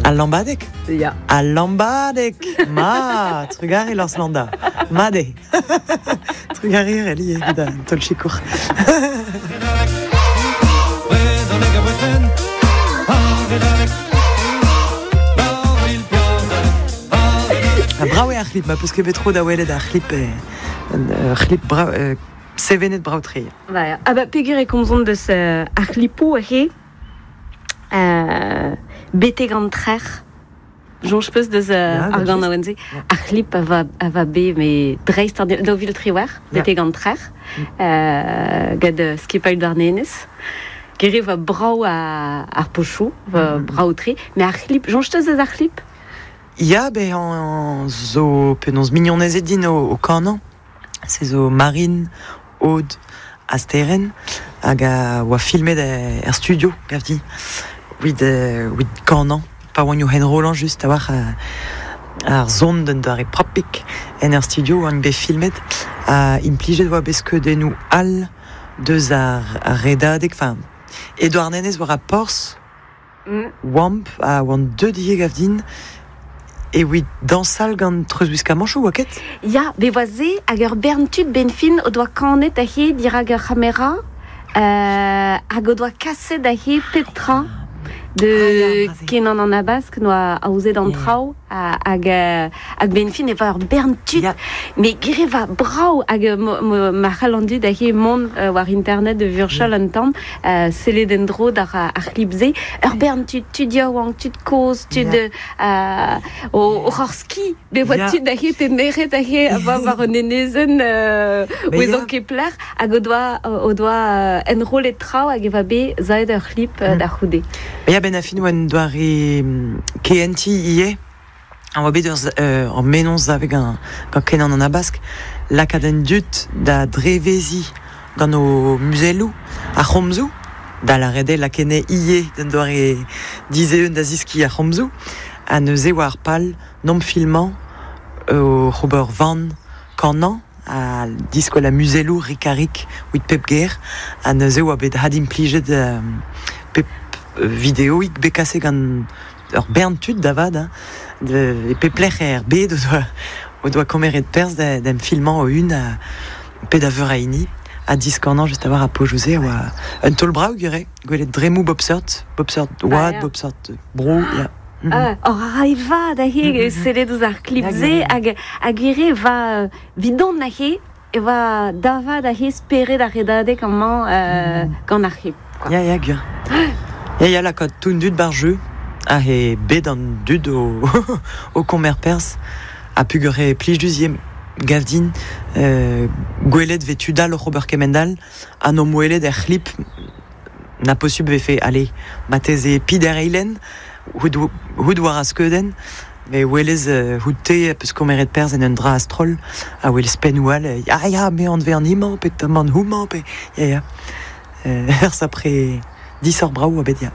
Al lambadeg? Ya. Al lambadeg! Ma! Trugare Lors Landa. Mat eo. Trugare Reli evit an taol sikour. Ha brav eo ar c'hlip, ma peus ket bet tro da welet ar c'hlip, ur c'hlip brav, sevenet brav-tre. Ba, ah ba peger e komzont deus ar c'hlipoù aze betek an trec'h. Soñj peus deus ar ganaouenn-se? Ar c'hlip a va, a va bet me dreist ar 2018 betek an trec'h gant skipailh Douarnenez. Gere va brav ar pochoù, va brav-tre. Mais ar c'hlip, soñj teus deus ar c'hlip? Ya, bezañ zo penaos mignonezed din o kanañ. Se zo Marine, Aude ha Sterenn hag a oa filmet er studio, gav din, evit evit kanañ. Pa oan o enrollañ just a-walc'h ar son d'un doare propik en ur studio oan bet filmet ha implijet oa bet skeudennoù all deus ar redadeg, enfin, e Douarnenez war ar porzh. Oamp ha oant deuet ivez gav din evit dañsal gant treuzwiskamanchoù, oa ket? Ya, bet oa se hag ur bern tud 'benn fin o doa kanet aze dirak ur c'hamera hag o doa kaset aze pep tra de Kenan an Habask 'noa aozet an traoù hag hag 'benn fin e oa ur bern tud met gre va brav hag ma c'hall an dud aze mont war internet da vurchal un tamm sellet en-dro d'ar ar c'hlip-se ur bern tud tud yaouank tud kozh tud o oc'h ski bet oa tud aze pe merc'hed aze a oa war un enezenn ouezan ket pelec'h hag o doa o doa enrollet traoù hag e oa bet savet ur c'hlip da c'houde. Ya, ben a fin oa un doare kehentiñ ivez. A oa bet ur mennozh savet gant Kenan an Habask lakaat an dud da dreveziñ gant o muzelloù ar c'homzoù, da lâret eo lakaet ivez d'un doare dizeeun da zeskiñ ar c'homzoù. Ha neuze oa ar pal nomp filmañ oc'h ober van kanañ ha diskwel ar muzelloù rik-ha-rik evit pep ger. Ha neuze oa bet adimplijet pep videoig bet kaset gant ur bern tud da vat hein, e pep lec'h er bed o doa komeret perzh d'em filmañ o-un pe da veur a hini ha diskanañ just a-walc'h ar pojoù-se a oa un taol brav gure gwelet dremmoù bop seurt bop seurt oad bop seurt bro ya. Oc'h a ray vat aze sellet ouzh ar klip-se hag hag ivez va 'vidon aze e oa da vat aze spered ar redadeg amañ gant ar c'hlip. Ya, ya, gwir. Ya, ya, lakaat tout an dud ba'r jeu. Aze bet an dud o, o komer perzh. Ha peogwir e plij diouzh ivez, gav din, gwelet 'vez tud all oc'h ober kement-all ha n'omp welet er c'hlip na posubl 'vefe, allez, marteze peder eilenn, hout war ar skeudenn, me welez hout te peus komeret perzh en un dra a-stroll, a welez pennoù all, ya, ya, me anvez an hemañ pe an houmañ pe ya, ya. Ur sapre disoc'h brav oa bet ya.